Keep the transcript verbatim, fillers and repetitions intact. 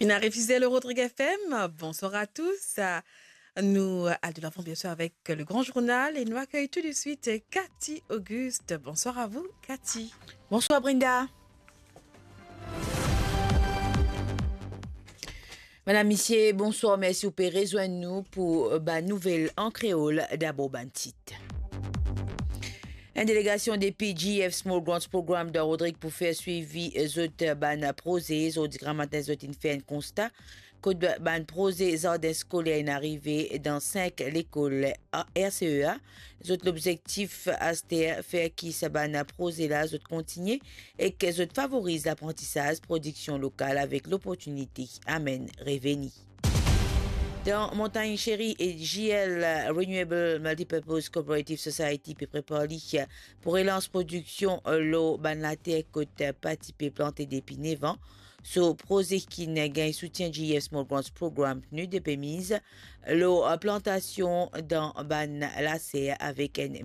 Ina Refizel, Rodrigue F M, bonsoir à tous. Euh, nous allons de l'avant, bien sûr, avec le grand journal et nous accueillons tout de suite Cathy Auguste. Bonsoir à vous, Cathy. Bonsoir, Brenda. Madam, misie, bonswar, mersi ou pe rezwenn nou pou, euh, bann nouvel an kreol. Dabor bann tit. Enn delegasion depi G F Small Grants Program dan Rodrig pou fer swivi zot bann proze. Zordi gramatin zot inn fer enn konsta kot bann proze zardin skoler inn arive dan sink lekol R C E A. Zot lobzektif aster fer ki sa bann proze la zot kontigne ek zot favoriz laprantisaz, prodiksion lokal avek loportinite amenn reveni. Dan Montagne Chérie, G L Renewable Multipurpose Cooperative Society pe prepar li pou relans prodiksion lor bann later kot pa ti pe plante depi nef an. So proze ki inn gagn soutien G F Small Grants Program, PNUD, pe miz lor plantasion dan bann laser avek enn